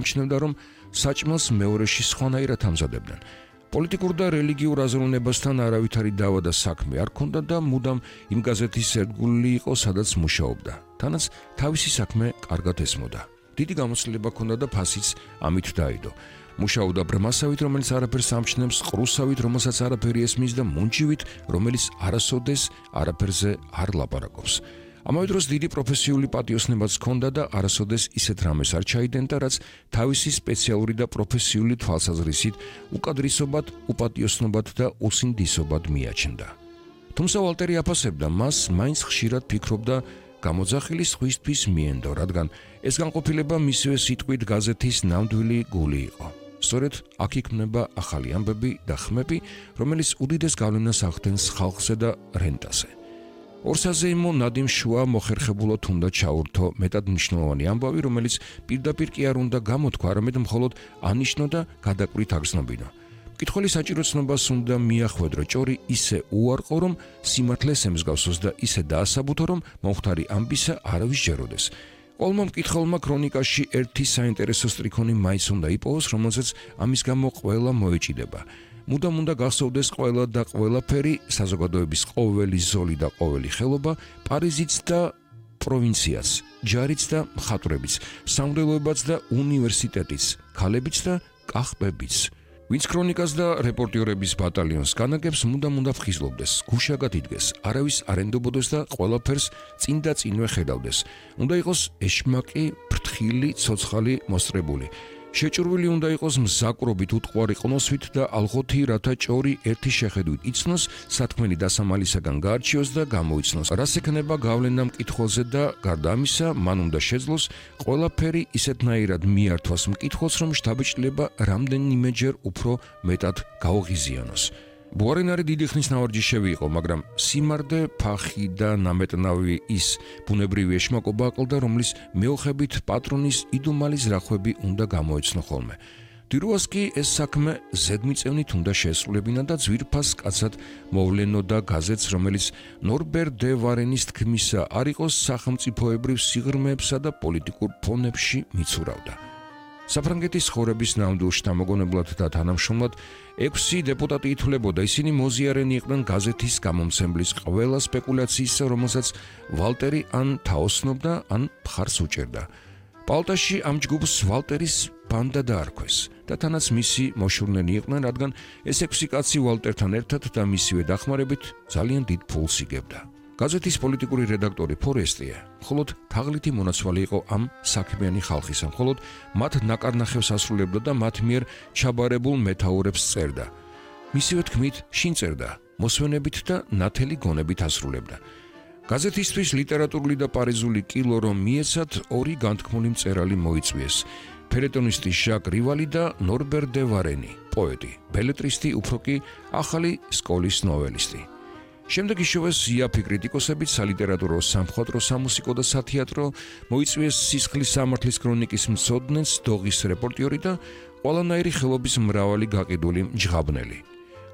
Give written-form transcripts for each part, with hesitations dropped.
მჩნევდა, რომ საჭმელს მეორეში სხვანაირად ამზადებდნენ. პოლიტიკურ და რელიგიურ აზროვნებასთან არავითარი დავა და საქმე არ ჰქონდა და მუდამ იმ გაზეთის ერთგული იყო, სადაც მუშაობდა. თანაც თავისი საქმე კარგად ესმოდა. დიდი გამოცდილება ჰქონდა და ფასიც ამით დაიდო. მუშაობდა ბრმასავით, რომელიც არაფერს ამჩნევს, ყრუსავით, რომელსაც არაფერი ესმის და მუნჯივით, რომელიც არასოდეს არაფერზე არ ლაპარაკობს. ამავე დროს დიდი პროფესიული პატიოსნებაც ჰქონდა და არასოდეს ისეთ რამეს არ ჩაიდენდა, რაც თავისი სპეციალური და პროფესიული თვალსაზრისით უკადრისობად, უპატიოსნობად და უსინდისობად მიაჩნდა. თუმცა ვალტერი აფასებდა, მას მაინც ხშირად ფიქრობდა გამოძახილი სხვისთვის მიენდო, რადგან ეს განყოფილება მისივე სიტყვით გაზეთის ნამდვილი გული იყო. სწორედ აქ იქმნება ახალი ამბები და ხმები, რომელიც უდიდეს გავლენას ახდენს ხალხზე და რენტაზე. ორსაზეიმო ნადიმ შუა მოხერხებულად უნდა ჩაურთო მეტად მნიშვნელოვანი ამბავი, რომელიც პირდაპირ კი არ უნდა გამოთქვა, არამედ მხოლოდ ანიშნო და გადაკვირით აგრძნობინო. მკითხველი საჭირო ცნობას უნდა მიახვედრო ჭორი ისე უარყო, რომ სიმართლეს ემსგავსოს და ისე დაასაბუთო, რომ მომხდარი ამბისა არავის ჯეროდეს. ყოველმა მკითხველმა ქრონიკაში ერთი საინტერესო სტრიქონი მაინც უნდა იპოვოს, რომელზეც ამის გამო ყველა მოეჭიდება. მუდამ უნდა გახსოვდეს ყველა და ყველაფერი, საზოგადოების ყოველი ზოლი და ყოველი ხელობა, პარიზიც და პროვინციაც, ჯარიც და მხატვრებიც, სამღვდელოებაც და უნივერსიტეტიც, ქალებიც და კახბებიც. ვინც ქრონიკას და რეპორტიორების ბატალიონს განაგებს, მუდამ უნდა ფხიზლობდეს, გუშაგად იდგეს, არავის არ ენდობოდეს და ყველაფერს წინ და წინვე ხედავდეს. უნდა იყოს ეშმაკი, ფრთხილი, ცოცხალი, მოსწრებული. შეჭურვილი უნდა იყოს მზაკრობით, უტყვარი ყნოსვით და ალღოთი, რათა ჭორი ერთი შეხედვით იცნოს, სათქმელი დასამალისაგან გაარჩიოს და გამოიცნოს. რას ექნება გავლენა მკითხველზე და გარდა ამისა, მან უნდა შეძლოს ყველაფერი ისეთნაირად მიართვას მკითხველს, რომ შთაბეჭდილება რამდენიმეჯერ უფრო მეტად გაუღიზიანოს. ბუარენარი დიდი ხნის ნავარჯიშევი იყო, მაგრამ სიმარდე, ფახი და ნამეტნავი ის ბუნებრივი ეშმაკობა აკლდა, რომლის მეოხებით პატრონის იდუმალი ზრახვები უნდა გამოეცნო ხოლმე. დირუას კი ეს საქმე ზედმიწევნით უნდა შეესრულებინა და ძვირფას კაცად მოვლენო და გაზეთს, რომელიც ნორბერ დე ვარენის თქმისა არ იყოს სახელმწიფოებრივ სიღრმეებსა და პოლიტიკურ ფონებში მიცურავდა. საფრანგეთის ხორების ნამდვილ შთამოგონებლად და თანამშრომლად 6 დეპუტატი ითვლებოდა, ისინი მოზიარენი იყვნენ გაზეთის გამომცემლის ყველა სპეკულაციისა, რომელსაც ვალტერი ან თაოსნობდა, ან მხარს უჭერდა. პალტაში ამ ჯგუფს ვალტერის ბანდა დაარქვეს და თანაც მისი მოშურნელი იყვნენ, რადგან ეს 6 კაცი ვალტერთან ერთად და მისივე დახმარებით ძალიან დიდ ფულს იგებდა. გაზეთის პოლიტიკური რედაქტორი ფორესტია მხოლოდ თაღლითი მონაცვალი იყო ამ საქმიანი ხალხისა, მხოლოდ მათ ნაკარნახევს ასრულებდა და მათ მიერ ჩაბარებულ მეთაურებს წერდა. მისივე თქმით შინ წერდა, მოსვენებით და ნათელი გონებით ასრულებდა. გაზეთისთვის ლიტერატურული და პარიზული კილო რომ მიეცათ, 2 განთქმული მწერალი მოიწვიეს. ფელეტონისტი ჟაკ რივალი და ნორბერ დე ვარენი, პოეტი, ბელებრისტი, უფრო კი ახალი სკოლის ნოველისტი. შემდეგ იშოვეს იაფი კრიტიკოსებით, სალიტერატურო, სამხატვრო, სამუსიკო და სათეატრო, მოიწვიეს სისხლის სამართლის ქრონიკის მცოდნეც, დოღის რეპორტიორი და ყველანაირი ხელობის მრავალი გაყიდული მჯღაბნელი.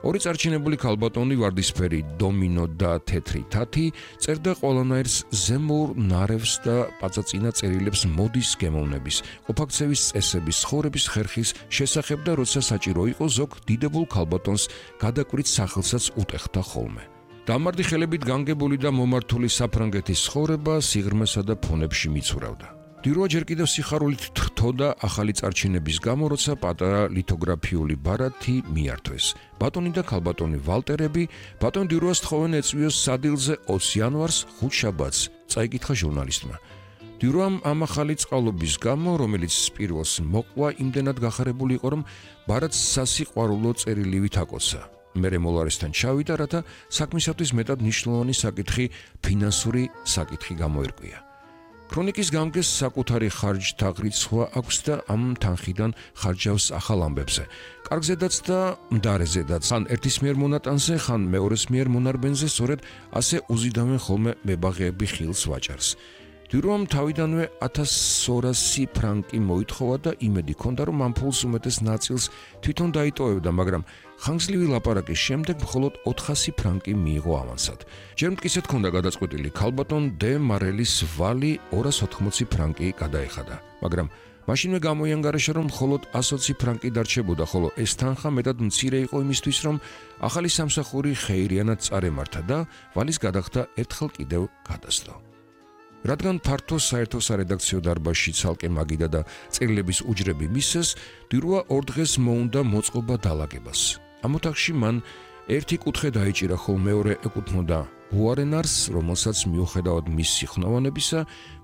2 წარჩინებული ქალბატონი, ვარდისფერი დომინო და თეთრი თათი, წერდა ყველანაირს ზემოურ ნარევს და პაწაწინა წერილებს მოდის გემოვნების, ყოფაქცევის წესების, ცხოვრების ხერხის შესახებ და როცა საჭირო იყო, ზოგ დიდებულ ქალბატონს გადაკვირით სახელსაც უტეხდა ხოლმე. დამარდი ხელებით განგებული და მომართული საფრანგეთის ცხოვრება სიღრმესა და ფონებში მიცურავდა. დირუა ჯერ კიდევ სიხარულით თრთოდა ახალი წარჩინების გამო, როცა პატარა ლითოგრაფიული ბარათი მიართვეს. ბატონი და ქალბატონი ვალტერები ბატონ დირუას თხოვენ ეწვიოს სადილზე 20 იანვარს ხუთშაბათს, წაიკითხა ჟურნალისტმა. დირუამ ამ ახალი წყალობის გამო, რომელიც პირველს მოყვა, იმდენად გახარებული იყო, რომ ბარათს სასიყვარულო წერილივით აკოცა. მერე მოლარესთან ჩავიდა, რათა საქმისათვის მეტად მნიშვნელოვანი საკითხი, ფინანსური საკითხი გამოერკვია. ქრონიკის გამგეს საკუთარი ხარჯთა ღრიცხვა აქვს და ამ თანხიდან ხარჯავს ახალ ამბებზე. კარგზედაც და მდარეზედაც, ხან ერთის მიერ მონატანზე, ხან მეორეს მიერ მონარბენზე, სწორედ ასე უზიდავენ ხოლმე მებაღეები ხილს ვაჭარს. დირუამ თავიდანვე 1200 ფრანკი მოითხოვა და იმედი ჰქონდა, რომ ამ ფულს უმეტეს ნაწილს თვითონ დაიტოვებდა, მაგრამ ხანგრძლივი ლაპარაკის შემდეგ მხოლოდ 400 ფრანკი მიიღო ავანსად. ჯერ მტკიცედ ჰქონდა გადაწყვეტილი ქალბატონ დე მარელის ვალი 280 ფრანკი გადაეხადა, მაგრამ მაშინვე გამოიანგარიშა, რომ მხოლოდ 120 ფრანკი დარჩებოდა, ხოლო ეს თანხა მეტად მცირე იყო იმისთვის, რომ ახალი სამსახური ხეირიანად წარემართა და ვალის გადახდა ერთხელ კიდევ გადასდო. რადგან ფართო საერთო სარედაქციო დარბაზში ცალკე მაგიდა და წერილების უჯრები მისცეს, დირუა 2 დღეს მოუნდა მოწყობა დალაგებას. ამ ოთახში მან ერთი კუთხე დაიჭირა, ხოლო მეორე ეკუთვნოდა უარენარს, რომელსაც მიუხედავად მის სიხნავანებისა,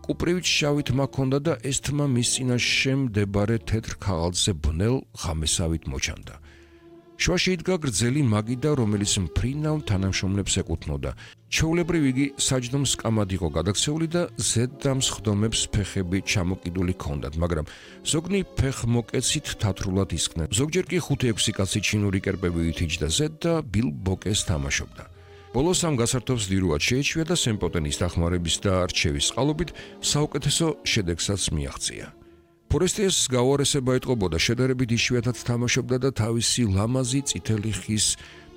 კუპრივით შავი თმა ჰქონდა და ეს თმა მის წინაშე მდებარე თეთრ ქაღალდზე ბნელ ღამესავით მოჩანდა. შუაში იდგა გრძელი მაგიდა, რომელიც მფრინავ თანამშრომლებს ეკუთვნოდა. ჩვეულებრივ იგი საჯდომს კამად იყო გადაქცეული და ზედდამს ხდომებს ფეხები ჩამოკიდული ჰქონდათ, მაგრამ ზოგნი ფეხმოკეცით თათრულად ისხდნენ. ზოგჯერ კი 5-6 კაცი ჩინური კერპები ითიჯდა ზედ და ბილბოკეს თამაშობდა. ბოლოს ამ გასართობს დირუად შეეჩვია და სემპოტენის დახმარების და არჩევის წყალობით საუკეთესო შედეგსაც მიაღწია. ფორესტიეს გაუარესება ეტყობოდა, შედარებით იშვიათად თამაშობდა და თავისი ლამაზი წითელი ხის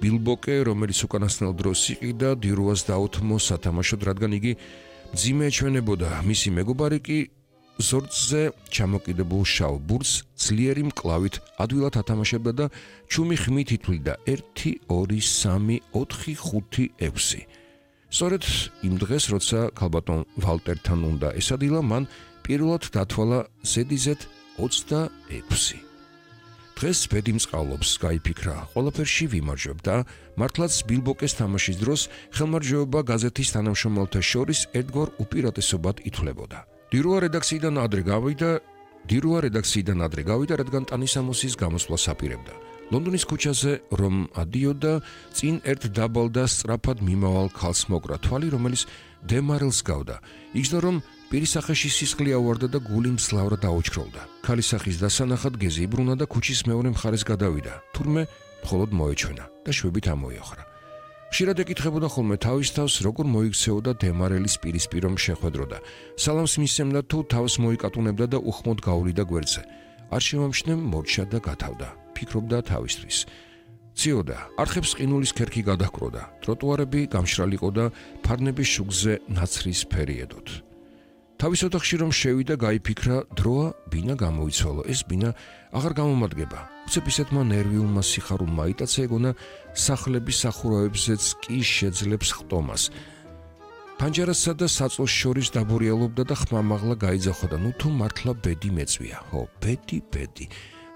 ბილბოკე, რომელიც უკანასკნელ დროს იყიდა, დირუას დაუთმო სათამაშოდ, რადგან იგი მძიმე ეჩვენებოდა. მისი მეგობარი კი ზორწზე ჩამოკიდებულ შავ ბურთს ძლიერი მკლავით ადვილად ათამაშებდა და ჩუმი ხმით ითვლიდა 1, 2, 3, 4, 5, 6. სწორედ იმ დღეს, როცა ქალბატონ ვალტერთან უნდა ესადილა, მან პირველად დათვალა ზედიზედ 26. დღეს ბედი მწყალობს, გაიფიქრა, ყველაფერში ვიმარჯვებ და მართლაც ბილბოკეს თამაშის დროს ხელმარჯვეობა გაზეთის თანამშრომელთა შორის ერთგვარ უპირატესობად ითვლებოდა. დირუა რედაქციიდან ადრე გავიდა, რადგან ტანისამოსის გამოსვლას აპირებდა. ლონდონის ქუჩაზე რომ ადიოდა, წინ ერთ დაბალ და სწრაფად მიმავალ ქალს მოკრა თვალი, რომელიც დემარელს გავდა. იგრძნო, რომ პირისახეში სისხლი ავარდა და გული მძლავრად აუჩქროლდა. ქალის სახის დასანახად გეზი იბრუნა და ქუჩის მეორე მხარეს გადავიდა. თურმე მხოლოდ მოეჩვენა და შვებით ამოიოხრა. ხშირად ეკითხებოდა ხოლმე თავის თავს, როგორ მოიქცეოდა დემარელის პირისპირ რომ შეხვედროდა. სალამს მისცემდა თუ თავს მოიკატუნებდა და უხმოდ გაუვლიდა გვერდზე. არ შემამჩნევ მორჩა და გათავდა. ფიქრობდა თავისთვის. ციოდა, არხებს ყინულის ქერქი გადაჰკროდა. ტროტუარები გამშრალიყო და ფარნების შუქზე ნაცრის ფერი ედოთ. თავის ოთახში რომ შევიდა, გაიფიქრა, დროა ბინა გამოიცვალო. ეს ბინა აღარ გამომადგება. უცებ ისეთმა ნერვიულმა სიხარულმა იტაცა, ეგონა სახლების სახურავებზეც კი შეძლებს ხტომას. პანჯარასა და საწოლს შორის დაბურიალობდა და ხმამაღლა გაიძახოდა. ნუ თუ მართლა ბედი მეწვია. ხო, ბედი.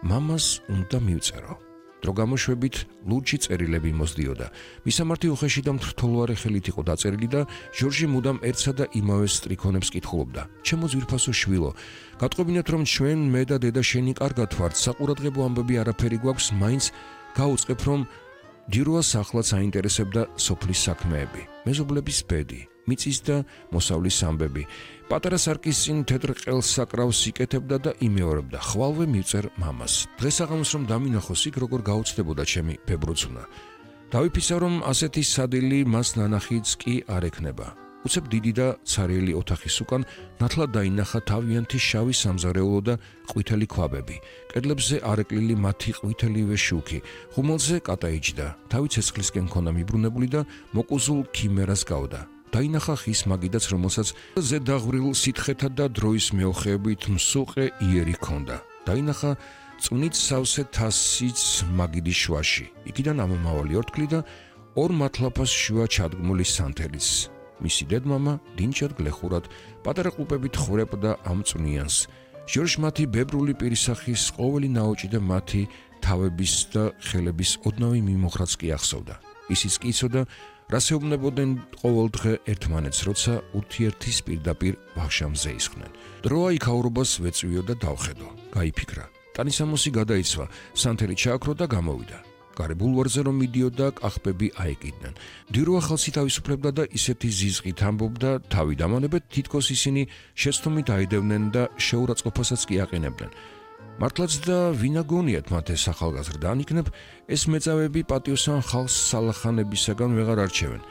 მამას უნდა მივწერო. დრო გამოშვებით ლურჯი წერილები მოსდიოდა. მისამართი უხეში და მრთოლوارე ხელით იყო დაწერილი და ჟორჟი მუდამ ერთსა და იმავე სტრიქონებს კითხულობდა. ჩემო ძვირფასო შვილო, გატყობინეთ რომ ჩვენ მე და დედა შენი კარგად ვართ, საყურადღებო ამბები არაფერი გვაქვს, მაინც გაუწყებ რომ დირუას ახლაც აინტერესებდა სოფლის საქმეები, მეზობლების ბედი, მიწის და მოსავლის ამბები. პატარა სარკის წინ თეთრ ყელს საკრავს იკეთებდა და იმეორებდა, ხვალვე მივწერ მამას. დღესაღამოს რომ დამინახოს იქ, როგორ გაუცდებოდა ჩემი ბებრუცუნა. დავიფისა რომ ასეთი სადილი მას ნანახიც კი არ ექნება. უცებ დიდი და ცარიელი ოთახის უკან ნათლად დაინახა თავიანთი შავი სამზარეულო და ყვითელი ქვაბები. კედლებზე არეკლილი მათი ყვითელივე შუქი, ხუმელზე კატაიჯდა, თავი ცეცხლისკენ ჰქონდა მიბრუნებული და მოკუზულ ქიმერას გავდა. დაინახა ხის მაგიდაც, რომელსაც ზედაღვრილ სითხეთა და დროის მეოხეებით მსუყე იერი ჰქონდა. დაინახა წვნით სავსე თასიც მაგიდის შუაში. იქიდან ამომავალი ორთქლი და ორ მათლაფას შუა ჩადგმული სანთელიც. მისი დედმამა დინჩად გლეხურად პატარა ყლუპებით ხვრებდა ამ წვნიანს. ჟორჟ მათი ბებრული პირისახის ყოველი ნაოჭი და მათი თავების და ხელების ოდნავი მიმოხრაც კი ახსოვდა. ისიც კი იცოდა, რას ეუბნებოდნენ ყოველ დღე ერთმანეთს, როცა ურთიერთის პირდაპირ ვახშამზე ისხდნენ. დროა იქაურობას ვეწვიო და დავხედო. გაიფიქრა. ტანისამოსი გადაიცვა, სანთელი ჩააქრო და გამოვიდა. გარე ბულვარზე რომ მიდიოდა, კახბები აეკიდნენ. დირუა ხალხი თავისუფლებდა და ისეთი ზიზღით ამბობდა, თავი დამანებეთ, თითქოს ისინი შეცდომით აიდევნენ და შეურაცხყოფასაც კი აყენებდნენ. მართლაც და ვინ აგონიათ მათ ეს ახალგაზრდა, ანიქნებ ეს მეწავეები პატიოსან ხალხს სალახანებისაგან ვეღარ არჩევენ.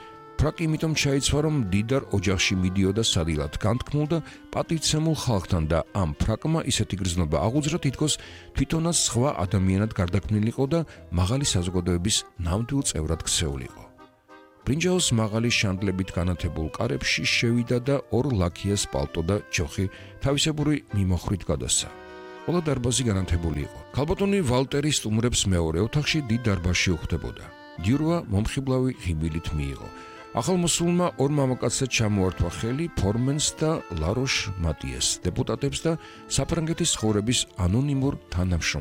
ფრაკი იმიტომ ჩაიცვა, რომ დიდარ ოჯახში მიდიოდა სადილად განთქმულ და პატივცემულ ხალხთან და ამ ფრაკმა ისეთი გრძნობა აღუძრა, თითქოს თვითონაც სხვა ადამიანად გარდაქმნილიყო და მაღალი საზოგადოების ნამდვილ წევრად ქცეულიყო. ბრინჯაოს მაღალი შანდლებით განათებულ კარებში შევიდა და ორ ლაქიას პალტო და ჯოხი თავისებური მიმოხრით გადასცა. ყველა დარბაზი განათებული იყო. ქალბატონი ვალტერი სტუმრებს მეორე ოთახში დიდ დარბაზში უხდებოდა. დიურვა მომხიბლავი ღიმილით მიიღო. ახალმოსულმა ორ მამაკაცზე ჩამოართვა ხელი ფორმენს და ლაროშ მატიეს, დეპუტატებს და საფრანგეთის ცხოვრების ანონიმურ თანამშრომლებს.